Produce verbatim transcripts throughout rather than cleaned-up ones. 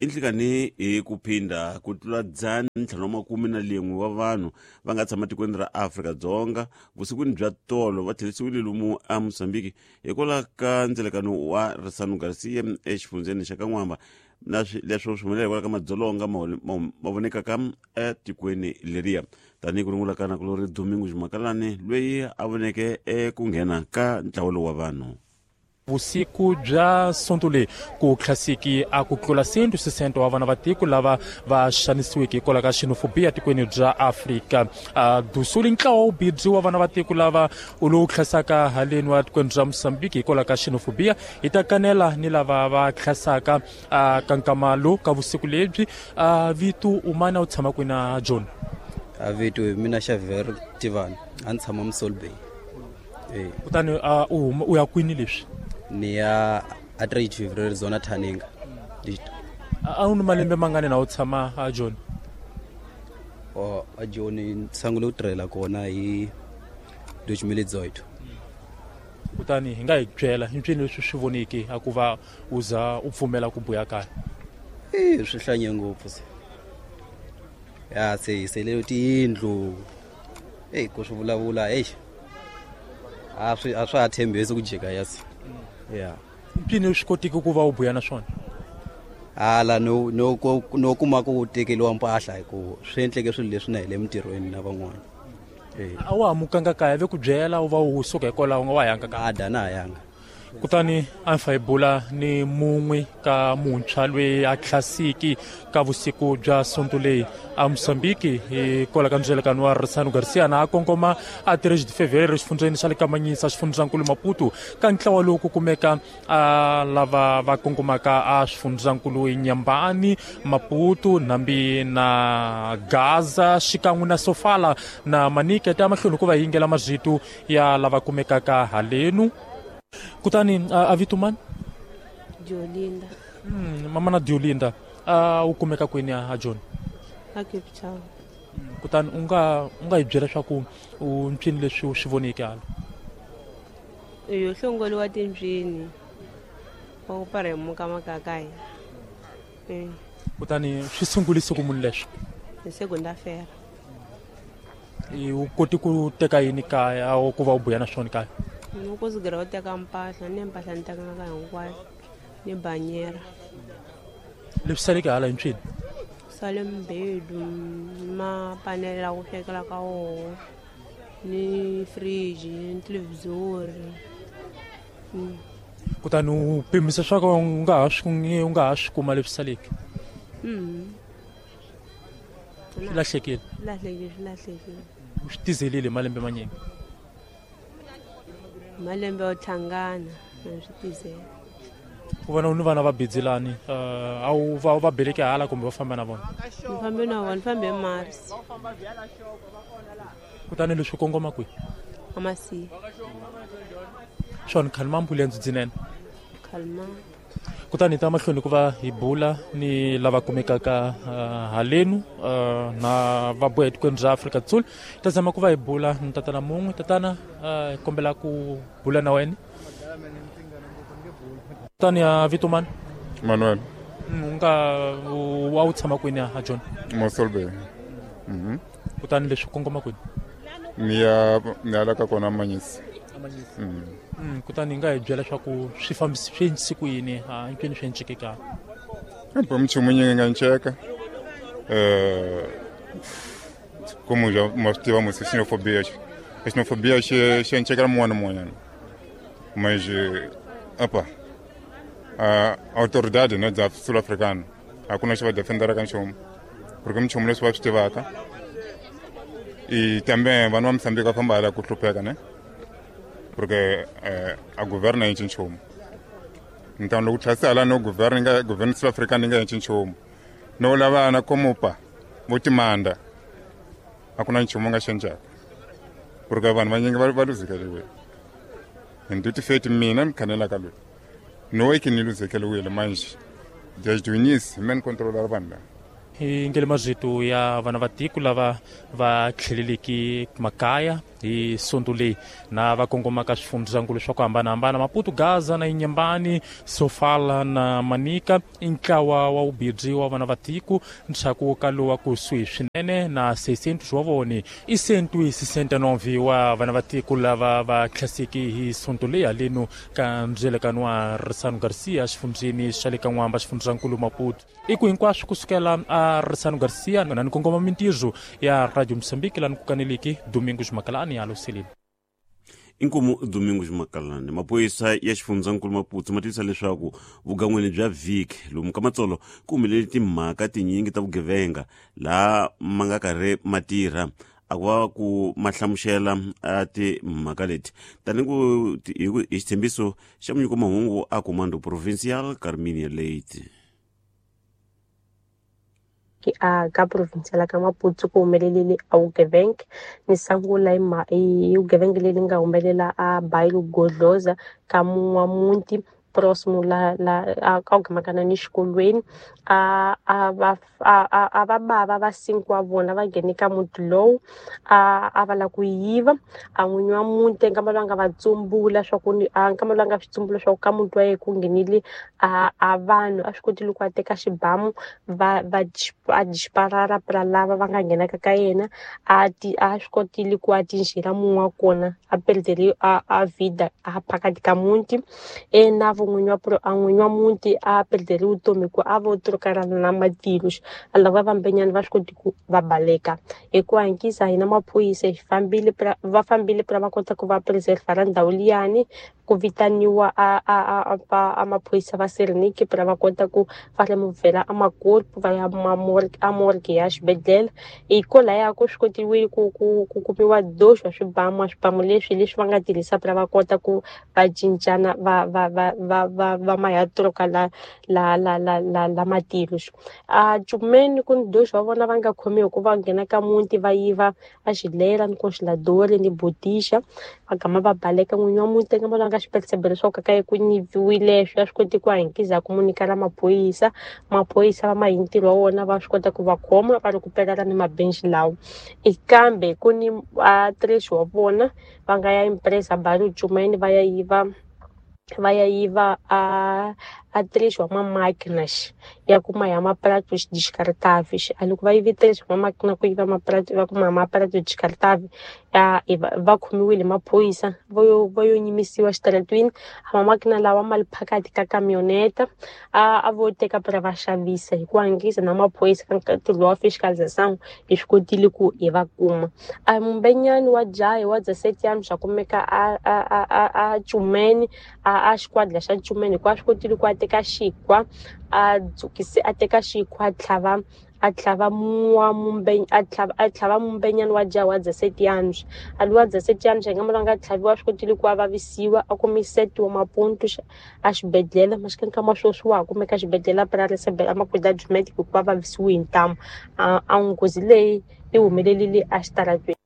I nhlikani hi ku phinda ku tlula dzana ntlhanu wa makume na lin'we wa vanhu va nga tshama tikweni ra Afrika-Dzonga vusikwini bya tolo va tlherisiwile lomu a Mozambique hikwalaho ka ndzelekano wa Ressano Garcia exifundzheni xa Kan'wamba na leswo swi humelela hikwalaho ka madzolonga ma vonekaka etikweni leriya tanihi ku rungula ka nakulori Domingo Makalani loyi a voneke eku nghena ka ntlawa lowu wa vanhu. Vusiku bya sonto leyi ku tlhasiki a ku tlula cento sesenta wa vana va tiko lava va xanisiweke hikwalaho ka xenofobia tikweni bya Afrika dusuli ntlawa wu bidzi wa vana va tiko lava u lowu tlhasaka haleni wa tikweni bya Mozambique hikwalaho ka xenofobia hi ta kanela ni lava va tlhasaka ka nkama lowu ka vusiku lebyi. Vito umana u tshama kwini na John? A vito mina Xavier Tivani, a ni tshama Mossel Bay. Eh kutani u ya kwini leswi? Ni ya a trade February zona Thaninga. A wu ni malembe mangani na u tshama a John? Oh, a John ni sungule ku tirhela kona hi dois mil e dezoito. Kutani hi nga hi byela hi mpfini leswi swi voneke a ku va u za u pfumela ku buya kaya? Eh swi hlanye ngopfu se. Ya se hi sele tiyindlu. Eh ku swi vulavula eish. A swi a swa ha tshembisi ku jika yasi. Yeah. Mpfini swi kotiki ku va u buya na swona? Hala no no no kuma ku tekeriwa mpahla hi ku swi endleke swilo leswi na hi le mintirhweni na van'wana. Eh. A wa hamukanga kaya ve ku byela u va u suka hikwalaho u nga wa yanga kaya? A da na yanga. Kutani a fa hi bula ni mun'we ka muntshwa loyi a tlhasiki ka vusiku bya sonto leyi a Mozambique hikwalaho ka ndzelekano wa Ressano Garcia na a kongoma a três de fevereiro exifundzheni xa le Kamanyisa xifundzankulu Maputo ka ntlawa lowu ku kumeka a lava va kongomaka a swifundzankulu Inhambane, Maputo, Nambi na Gaza xikan'we na Sofala na Manica ta mahlweni ku va yingela mazito ya lava kumekaka halenu. Kutani a vito mani? Diolinda. Mm, mama na Diolinda, a u kumeka kwini a John? A Cape Town. Kutani u nga u nga hi byela swa ku u mpfini leswi u swi voneke hala? Yo hlongoliwa timbyini wa ku paremuka makakaya. Eh. Kutani swi sungulise ku munhu leswi? Hi segunda-feira. U koti ku teka yini kaya ku va u buya na swona kaya? Ni ku sigela u teka mpahla ni mpahla ni tekanga hinkwayo ni banyera. Leswi saleke hala hi mpfini? Sale mbedu mapanele la ku swekela ka woho ni fridge ni televhizori. Kutani u pimisa swa ku u nga ha swi u nga ha swi kuma leswi saleke? Mm. Swi lahlekile? Lahlekile, swi lahlekile. U swi tizelile malembe manyingi? Malembe yo tlhangana na swi tizela. Ku vona u ni vana va bidzelani a wu va va beleke hala kumbe va famba na vona? Ni fambe na vona, ni fambe Mars. Kutani leswi kongoma kwihi? Amasi. Swona khalma ambulense dzinene? Khalma. Kutani hi ta mahlweni ku va hi bula ni lava kumekaka halenu na va boha etikweni bya Afrika Dzonga. Ta zama ku va hi bula ni tatana mun'we. Tatana hi kombela ku bula na wena. Kutani a vito mani? Manuel. U nga a wu tshama kwini a John? Mossel Bay. Mhm. Kutani leswi kongoma kwini? Ni ya ni ya la ka kona Manyisi. Mm. Mm, kutani hi nga hi byela leswaku swi fambisi swi endlise ku yini a hinkwenu swi enceke kaya? Kambe minchumu yi nga nceka. Eh como já ma swi tiva musi xenofobia xenofobia xi xi encekela mun'wana na mun'wanyana. Mas apa a autoridade né da sul-africana a ku na xi va defenderaka nchumu porque minchumu leswi va swi tivaka e também vanhu va Mozambique va famba hala ku hlupheka ne porque eh, a governo yi nchumu. Então loko tlhasi hala no governo nga governo sul-africana yi nga endli nchumu no lavana komupa vo timanda a ku na nchumu nga xenjaka porque vanhu vanyingi va va luzekeriwile. Hi feti mina ni khanelaka loyi no e que ni luzekeriwile manje desde o início me ni controlar vanhu lava. Hi ngele mazito ya vana va tiko lava va tlheleleki makaya hi sonto leyi na va kongomaka swifundzakulu swa ku hambanahambana Maputo, Gaza na Inhambane, Sofala na Manica i ntlawa wa vubirhi wa vana va tiko ntshaku ka lowa kusuhi swinene na seiscentos wa vone i cento e sessenta e nove wa vana va tiko lava va tlhaseki hi sonto leyi haleno ka ndzelekano wa Ressano Garcia xifundzeni xa le ka N'wamba xifundzankulu Maputo. I ku hinkwaswo kusukela a Ressano Garcia na ni kongoma mintirho ya Radio Mozambique lani ku kaneleki Domingos Makalani ya Luseleni. Inkomu Domingos Makalani. Maphorisa ya xifundzankulu Maputo ma tivisa leswaku vugan'wini bya vhiki lomu ka matsolo ku humelele timhaka tinyingi ta vugevenga laha ma nga karhi ma tirha a ku va ku ma hlamusela a timhaka leti tani ku hi xitshembiso xa munyiko mahungu a Comando Provincial Carminia Leite. A ka provincial ka Maputo ku humelelile a vugevenga ni sungula hi vugevenga leri nga humelela a Bairro Godloza ka mun'wa muti próximo la la ka ku ni xikolweni a a va a va bava va cinco wa vona va nghene ka muti lowu a a va lava ku yiva a n'winyi wa muti nkama lowu a nga va tsumbula swa ku a nkama lowu a nga swi tsumbula swa ku ka muti wa yena ku nghenile a a vanhu a swi kotile ku a teka xibamu va va a disparara pra lava va nga nghenaka ka yena a ti a swi kotile ku a tinjhela mun'we wa kona a perdere a a vida a phakathi ka muti e na n'winyi wa a n'winyi wa muti a perdere vutomi ku a vo trocarana na matilo a lava vambenyana va swi koti ku va baleka hi ku hankisa hina maphorisa hi fambile va fambile pra va kota ku va preserve ra ndhawu liyani ku vitaniwa a a a a maphorisa va Sereniki pra va kota ku va removela a makorpo va ya morgue a morgue ya xibedhlele hikwalaho ku swi kotiwile ku ku ku kumiwa doxo swibamu swibamu leswi leswi va nga tirhisa pra va kota ku va cincana va va va va va va maya troka la la la la la la matilo a Chumeni ku ni doxo va vona va nga khomiwi ku va nghena ka muti va yiva a xilera ni congelador ni botisha va gama va baleka n'winyi wa muti nga nga xi percebe leswaku ka ku nyiviwile swi a swi koti ku hankisa ku munyika la maphorisa maphorisa va ma hi ntirho wa wona va swi kota ku va khoma va rikuperela ni mabenchi lawa kambe ku ni a três wa vona va nga ya empresa Bairro Chumeni va ya yiva va ya yiva a a três wa mamáquinas ya kuma ya mapratos descartáveis a loko va yive três wa mamáquina ku yiva maprato va kuma maprato descartáveis ya va khomiwile maphorisa vo yo va yo nyimisiwa xitaratwini a mamáquina lawa ma li phakathi ka camioneta a a vo teka pra va xavisa hi ku hankisa na maphorisa ka ntirho wa fiscalização hi swi kotile ku hi va kuma a mumbenyani wa jaha wa dezessete anos a kumeka a a a a Chumeni a a xikwadi xa Chumeni hikuva a swi kotile ku a teka xikhwa a dzukise a teka xikhwa a tlhava a tlhava wa mumbe a tlhava a tlhava mumbenyani wa jaha wa dezessete anos a luwa dezessete anos nga mala nga tlhaviwa swi kotile ku a vavisiwa a kumi sete wa maponto a xibedhlele maxikani ka maswoswi wa ha kumeka xibedhlele pra receber a macuidados médicos hikuva vavisiwe hi ntamu a a nghozi leyi yi humelelile a xitaratweni.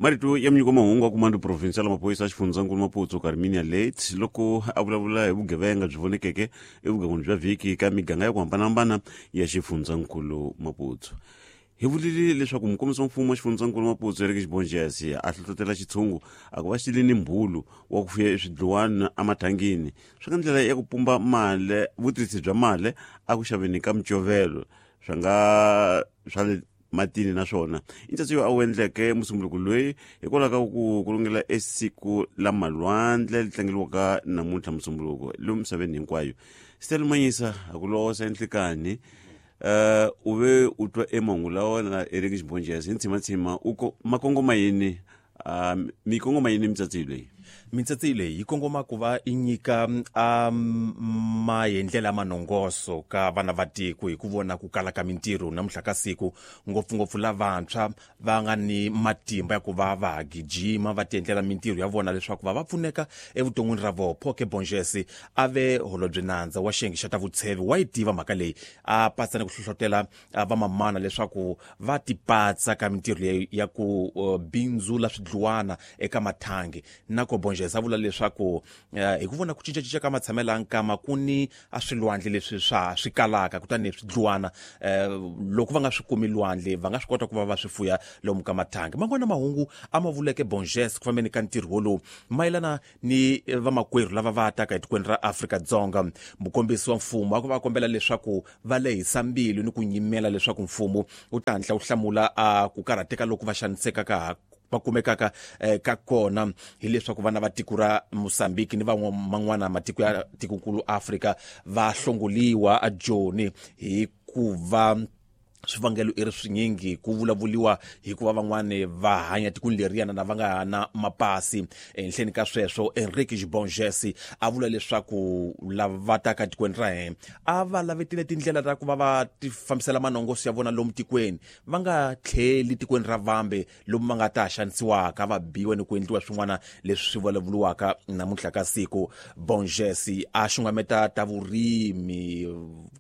Marito ya munyiko mahungu a Comando Provincial maphorisa xifundzankulu Maputo Carminia Leite loko a vulavula hi vugevenga byi vonekeke evugangwini bya vhiki ka miganga ya ku hambanahambana ya xifundzankulu Maputo. Hi vulile leswaku mukombisi wa mfumo wa xifundzankulu Maputo Eric Xibonjesi a hlohlotela xitshungu a ku va xi ni mbulu wa ku fuya eswidluwana emathangini swi nga ndlela ya ku pumba mali vutirhisi bya mali a ku xaveni ka micovelo swa nga swa le matini naswona i ntsatso yo a wu endleke musumbuluko loyi hikwalaho ka ku kulungela esiku la malwandle li tlangeliwaka namuntlha musumbuluko lomu misaveni hinkwayo. Stella Manyisa a ku losa enhlikani uh u ve u twa emahungu lawa na Eric Xibonjesi hi ntshima u ma kongoma yini uh mi kongoma yini mitsatsi leyi? Mitsatsi leyi yi kongoma ku va i nyika a maendlela manongoso ka vana va tiko hi ku vona ku kala ka mintirho namuntlha ka siku ngopfungopfu lavantshwa va nga ni matimba ya ku va va gijima va tiendlela mintirho ya vona leswaku va va pfuneka evuton'wini ra vona. Phoke Bonjesi a ve holobye nandza wa xiyenge xa ta vutshevi wa yi tiva mhaka leyi a patsa ni ku hlohlotela vamamana leswaku va tipatsa ka mintirho leyi ya ku bindzula swidluwana eka mathangi na ko Bongese a vula leswaku hi ku vona ku cincacinca ka matshamelo ya nkama ku ni a swilwandle leswi swa swi kalaka kutani swi dluwana loko va nga swi kumi lwandle va nga swi kota ku va va swi fuya lomu ka mathangi. Man'wana mahungu a ma vuleke Bongese ku fambeni ka ntirho wolowu mayelana ni vamakwerhu lava va taka etikweni ra Afrika-Dzonga. Mukombisi wa mfumo a ku va kombela leswaku va lehisa mbilu ni ku nyimela leswaku mfumo wu ta hatla wu hlamula a ku karhateka loku va xanisekaka va kumekaka ka kona hileswaku vana va tiko ra Mozambique ni van'wana matiko ya tikonkulu Afrika va hlongoliwa a Joni hikuva swivangelo i ri swinyingi ku vulavuliwa hikuva van'wani va hanya tikweni leriyana na va nga na mapasi. Ehenhleni ka sweswo Enrique Bongese a vula leswaku lava va taka tikweni ra hina a va lavetile tindlela ta ku va va ti fambisela manongoso ya vona lomu tikweni va nga tlheli tikweni ra vambe lomu va nga ta xanisiwaka va biwa ni ku endliwa swin'wana leswi swi vulavuriwaka namuntlha ka siku. Bongese a xungameta ta vurimi,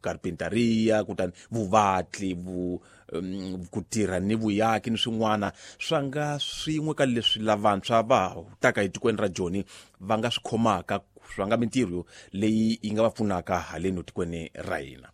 carpintaria, kutani vuvatli, ku tirha ni vuyaki ni swin'wana swa nga swin'we ka leswi lavantshwa va taka etikweni ra Joni va nga swi khomaka swa nga mintirho leyi yi nga va pfunaka haleni tikweni ra hina.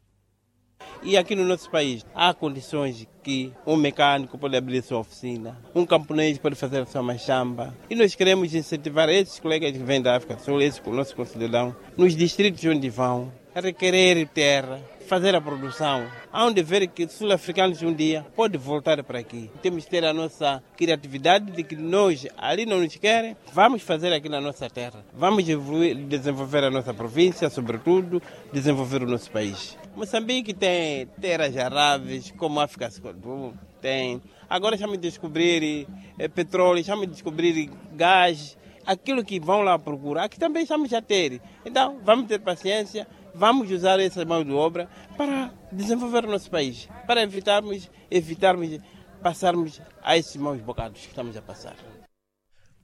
E aqui no nosso país há condições que um mecânico pode abrir sua oficina, um camponês pode fazer a sua machamba. E nós queremos incentivar esses colegas que vêm da África do Sul, esses nossos concidadãos, nos distritos onde vão, a requerer terra, fazer a produção. Há de ver que os sul-africanos um dia podem voltar para aqui. Temos que ter a nossa criatividade de que nós ali não nos querem, vamos fazer aqui na nossa terra. Vamos evoluir, desenvolver a nossa província, sobretudo, desenvolver o nosso país. Moçambique tem terras aráveis, como a África do tem. Agora estamos a descobrir eh, petróleo, estamos a descobrir gás, aquilo que vão lá procurar, aqui também estamos a ter. Então, vamos ter paciência, vamos usar essa mão de obra para desenvolver o nosso país, para evitarmos, evitarmos passarmos a esses maus bocados que estamos a passar.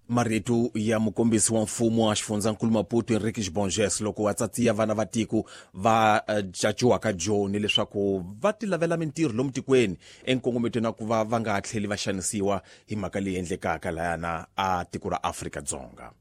Marito ya mukombisi wa mfumo wa xifundzankulu Maputo Enrique Bongese loko a tsatsiya vana va tiko va caciwaka Joni leswaku va ti lavela mintirho lomu tikweni enkongometweni wa ku va va nga tlheli va xanisiwa hi mhaka leyi endlekaka layana a tiko ra Afrika-Dzonga.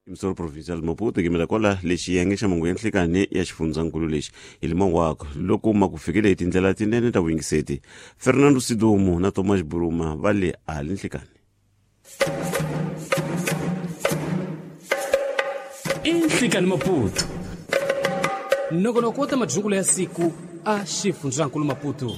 Msoro provincial Maputo yimela kwala lexi xiyenge xa mahungu ya nhlikani ya xifundzankulu lexi hi limangwako loko ma ku fikile hi tindlela tinene ta vuyingiseti. Fernando Sidumo na Thomas Buruma va le ali nhlikani. Inhlikani Maputo nongonoko wa majungula ya siku a xifundzankulu Maputo.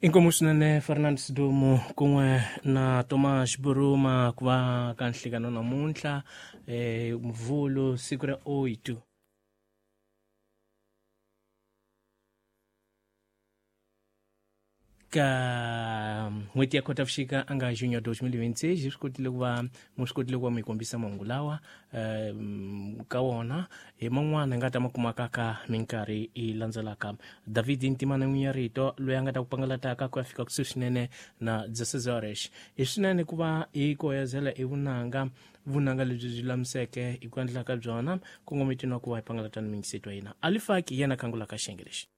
Inkomu swinene Fernando Sidumo kun'we na Thomas Buruma ku va ka nhlikano namuntlha eh Mvhulu siku ra oito. Ka n'hweti ya Khotavuxika a nga junho dois mil e vinte e seis hi swi kotile ku va mu swi kotile ku va mi kombisa mahungu lawa ka wona hi man'wana hi nga ta ma kumaka ka minkarhi yi landzelaka. David Ntimana n'winyi ya rito loyi a nga ta ku pangalataka ku ya fika kusuhi swinene na dezesseis horas. Hi swinene ku va hi koyezela i vunanga vunanga lebyi byi lulamiseke hi ku endla ka byona kongometweni wa ku va hi pangalata ni mingiseto wa hina. Alifaki yena khangulaka xiyenge lexi.